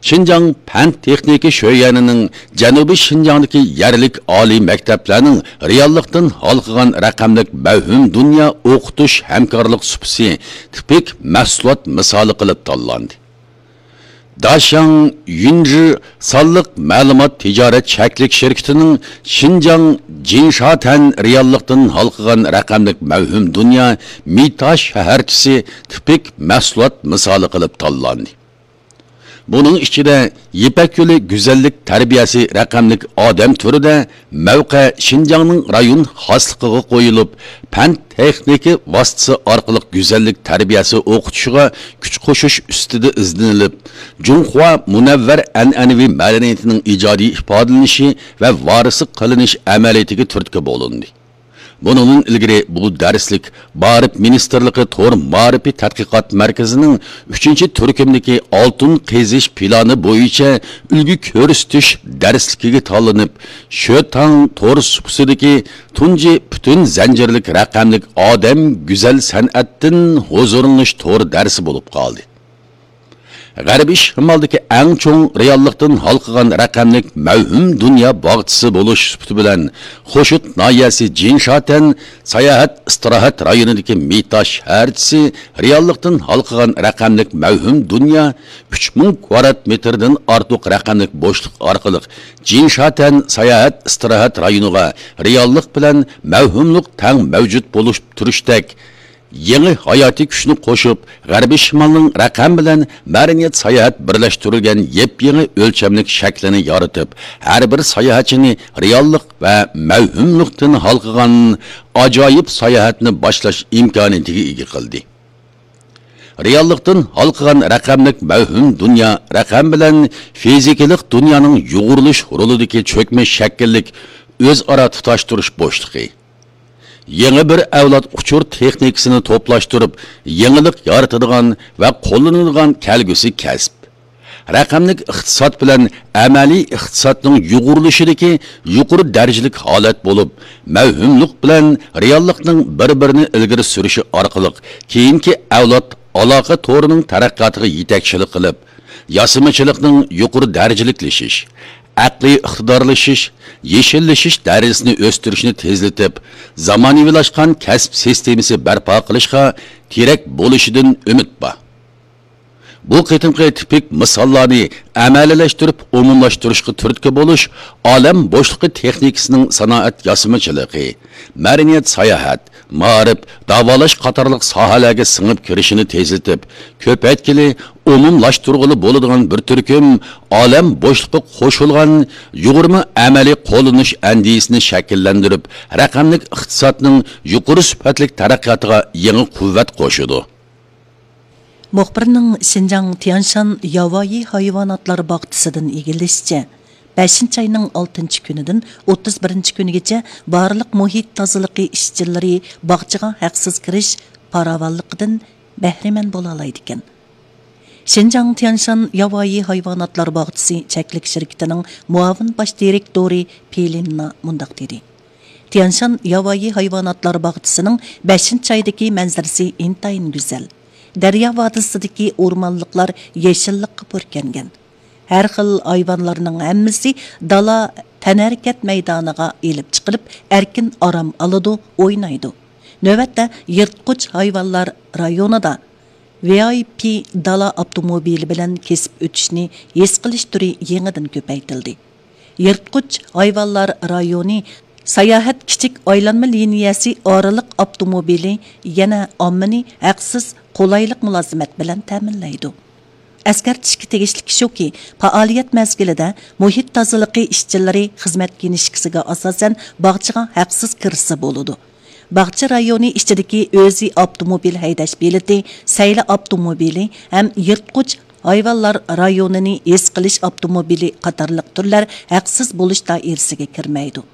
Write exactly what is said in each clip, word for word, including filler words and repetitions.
شىنجاڭ پەن تېخنىكا شۆيۈەنىنىڭ جەنۇبىي شىنجاڭدىكى يەرلىك ئالىي مەكتەپلەرنىڭ رېئاللىقتىن ھالقىغان رەقەملىك مەۋھۇم دۇنيا ئوقۇتۇش ھەمكارلىق سۇپىسى تىپىك مەھسۇلات مىسالى قىلىپ تاللاندى. داشياڭ يۈنجى سانلىق مەلۇمات تىجارەت چەكلىك شىركىتىنىڭ شىنجاڭ جىنشاتەن رېئاللىقتىن ھالقىغان رەقەملىك مەۋھۇم دۇنيا مېتا شەھەرچىسى تىپىك مەھسۇلات مىسالى قىلىپ تاللاندى. بۇنىڭ ئىچىدە يىپەك يولى گۈزەللىك تەربىيەسى رەقەملىك ئادەم تۈرىدە مەۋقە شىنجاڭنىڭ رايون خاسلىقىغا قويۇلۇپ، پەن تېخنىكا ۋاسىتىسى ئارقىلىق گۈزەللىك تەربىيەسى ئوقۇتۇشىغا كۈچ قوشۇش ئۈستىدە ئىزدىنىلىپ، جۇڭخۇا مۇنەۋۋەر ئەنئەنىۋى مەدەنىيىتىنىڭ ئىجادىي ئىپادىلىنىشى ۋە ۋارىسلىق قىلىنىش ئەمەلىيىتىگە تۈرتكە بولۇندى. بۇنىڭدىن ئىلگىرى بۇ دەرسلىك مائارىپ مىنىستىرلىقى تور مائارىپى تەتقىقات مەركىزىنىڭ ئۈچىنچى تۈركۈمدىكى ئالتۇن قېزىش پىلانى بويىچە ئۈلگە كۆرسىتىش دەرسلىكىگە تاللىنىپ، شۆتاڭ تور سۇپىسىدىكى تۇنجى پۈتۈن زەنجىرلىك رەقەملىك ئادەم گۈزەل سەنئەتتىن ھۇزۇرلىنىش تور دەرسى بولۇپ قالدى. غەربىي شىمالدىكى ئەڭ چوڭ رېئاللىقتىن ھالقىغان رەقەملىك مەۋھۇم دۇنيا باغچىسى بولۇش سۈپىتى بىلەن، خوشۇت ناھىيەسى جىنشاتەن ساياھەت ئىستىراھەت رايونىدىكى مېتا شەھەرچىسى رېئاللىقتىن ھالقىغان رەقەملىك مەۋھۇم دۇنيا ئۈچ مىڭ كۋادرات مېتىردىن ئارتۇق رەقەملىك بوشلۇق ئارقىلىق جىنشاتەن ساياھەت ئىستىراھەت رايونىغا رېئاللىق بىلەن مەۋھۇملۇق تەڭ مەۋجۇت بولۇپ تۇرۇشتەك يېڭى ھاياتىي كۈچنى قوشۇپ، غەربىي شىمالنىڭ رەقەم بىلەن مەدەنىيەت ساياھەت بىرلەشتۈرۈلگەن يېپيېڭى ئۆلچەملىك شەكلىنى يارىتىپ، ھەر بىر ساياھەتچىنى رېئاللىق ۋە مەۋھۇملۇقتىن ھالقىغان ئاجايىپ ساياھەتنى باشلاش ئىمكانىيىتىگە ئىگە قىلدى. رېئاللىقتىن ھالقىغان رەقەملىك مەۋھۇم دۇنيا رەقەم بىلەن فىزىكىلىق دۇنيانىڭ يۇغۇرۇلۇش رولىدىكى چۆكمە شەكىللىك ئۆزئارا تۇتاشتۇرۇش بوشلۇقى. يېڭى بىر ئەۋلاد ئۇچۇر تېخنىكىسىنى توپلاشتۇرۇپ، يېڭىلىق يارىتىدىغان ۋە قوللىنىدىغان كەلگۈسى كەسىپ. رەقەملىك ئىقتىساد بىلەن ئەمەلىي ئىقتىسادنىڭ يۇغۇرۇلۇشىدىكى يۇقىرى دەرىجىلىك ھالەت بولۇپ، مەۋھۇملۇق بىلەن رېئاللىقنىڭ بىر-بىرىنى ئىلگىرى سۈرۈشى ئارقىلىق كېيىنكى ئەۋلاد ئالاقە تورىنىڭ تەرەققىياتىغا يېتەكچىلىك قىلىپ، ياسىمىچىلىقنىڭ يۇقىرى دەرىجىلىكلىشىش، ئەقلىي ئىقتىدارلىشىش، يېشىللىشىش دەرىجىسىنى ئۆستۈرۈشنى تېزلىتىپ، زامانىۋىلاشقان كەسىپ سىستېمىسى بەرپا قىلىشقا تىرەك بولۇشىدىن ئۈمىد بار. بۇ قېتىمقى تىپىك مىساللارنى ئەمەلىيلەشتۈرۈپ ئومۇملاشتۇرۇشقا تۈرتكە بولۇش ئالەم بوشلۇقى تېخنىكىسىنىڭ سانائەت ياسىمىچىلىقى، مەدەنىيەت ساياھەت، مائارىپ، داۋالاش قاتارلىق ساھەلەرگە سىڭىپ كىرىشىنى تېزلىتىپ، كۆپەيتكىلى، ئومۇملاشتۇرغىلى بولىدىغان بىر تۈركۈم ئالەم بوشلۇقى قوشۇلغان يۇغۇرما ئەمەلىي قوللىنىش ئەندىزىسىنى شەكىللەندۈرۈپ، رەقەملىك ئىقتىسادنىڭ يۇقىرى سۈپەتلىك تەرەققىياتىغا يېڭى قۇۋۋەت قوشىدۇ. مۇخبىرنىڭ شىنجاڭ تيانشان ياۋايى ھايۋاناتلار باغچىسىدىن ئىگىلىشىچە، بەشىنچى ئاينىڭ ئالتىنچى كۈنىدىن ئوتتۇز بىرىنچى كۈنىگىچە بارلىق مۇھىت تازىلىقى ئىشچىلىرى باغچىغا ھەقسىز كىرىش پاراۋانلىقىدىن بەھرىمەن بولالايدىكەن. شىنجاڭ تيانشان ياۋايى ھايۋاناتلار باغچىسى چەكلىك شىركىتىنىڭ مۇئاۋىن باش دىرېكتورى پېلىننا مۇنداق دېدى: تيانشان ياۋايى ھايۋاناتلار باغچىسىنىڭ بەشىنچى ئايدىكى مەنزىرىسى ئىنتايىن گۈزەل. دەريا ۋادىسىدىكى ئورمانلىقلار يېشىللىققا پۈركەنگەن. ھەر خىل ھايۋانلارنىڭ ھەممىسى دالا تەنھەرىكەت مەيدانىغا ئېلىپ چىقىلىپ، ئەركىن ئارام ئالىدۇ، ئوينايدۇ. نۆۋەتتە يىرتقۇچ ھايۋانلار رايونىدا ۋىئايپى دالا ئاپتوموبىلى بىلەن كېسىپ ئۆتۈشنى ھېس قىلىش تۈرى يېڭىدىن كۆپەيتىلدى. يىرتقۇچ ھايۋانلار رايونى ساياھەت كىچىك ئايلانما لىنىيەسى ئارىلىق ئاپتوموبىلى يەنە ئاممىنى ھەقسىز قولايلىق مۇلازىمەت بىلەن تەمىنلەيدۇ. ئەسكەرتىشكە تېگىشلىكى شۇكى، پائالىيەت مەزگىلىدە مۇھىت تازىلىقى ئىشچىلىرى خىزمەت كىنىشكىسىگە ئاساسەن باغچىغا ھەقسىز كىرسە بولىدۇ. باغچە رايونى ئىچىدىكى ئۆزى ئاپتوموبىل ھەيدەش بېلىتى، سەيلە ئاپتوموبىلى ھەم يىرتقۇچ ھايۋانلار رايونىنى ھېس قىلىش ئاپتوموبىلى قاتارلىق تۈرلەر ھەقسىز بولۇش دائىرىسىگە كىرمەيدۇ.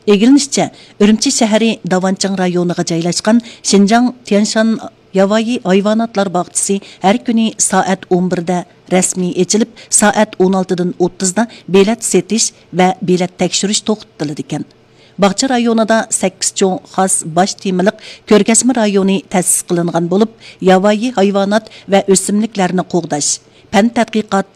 ئىگىلىنىشىچە، ئۈرۈمچى شەھىرى داۋانچىڭ رايونىغا جايلاشقان شىنجاڭ تيانشان ياۋايى ھايۋاناتلار باغچىسى ھەر كۈنى سائەت ئون بىردە رەسمىي ئېچىلىپ، سائەت ئون ئالتىدىن ئوتتۇزدا بېلەت سېتىش ۋە بېلەت تەكشۈرۈش توختىتىلىدىكەن. باغچە رايونىدا سەككىز چوڭ خاس باش تېمىلىق كۆرگەزمە رايونى تەسىس قىلىنغان بولۇپ، ياۋايى ھايۋانات ۋە ئۆسۈملۈكلەرنى قوغداش، پەن تەتقىقات،